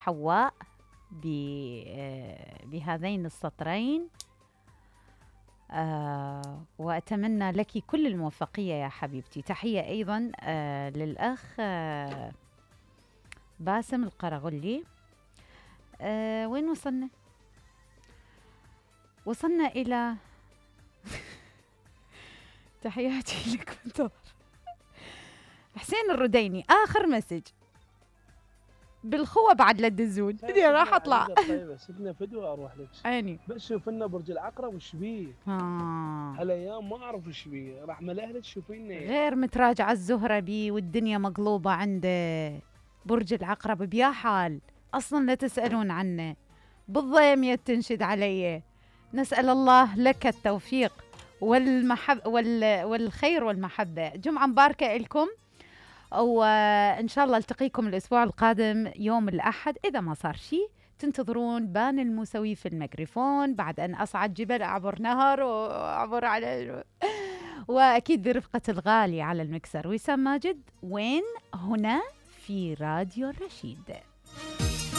حواء بهذين السطرين. وأتمنى لك كل الموفقية يا حبيبتي. تحية أيضا للأخ باسم القرغلي. وين وصلنا؟ وصلنا إلى تحياتي لك منتظر. حسين الرديني آخر مسج بالخوة بعد لا تدزون. راح أطلع. طيب سيبنا فدوة أروح لك. عيني. بس شوف لنا برج العقرب وش بيه. هالأيام ما أعرف وش بيه. راح ملهلك شوفينا. غير متراجعة الزهرة بي والدنيا مقلوبة عنده. برج العقرب بيا حال أصلا لا تسألون عنه. بالضيم تنشد علي. نسأل الله لك التوفيق والخير والمحبة. جمعة مباركة لكم، وإن شاء الله التقيكم الأسبوع القادم يوم الأحد إذا ما صار شيء. تنتظرون بان الموسوي في الميكروفون بعد أن أصعد جبل أعبر نهر وأعبر على وأكيد برفقة الغالي على المكسر وسام ماجد. وين؟ هنا في راديو الرشيد.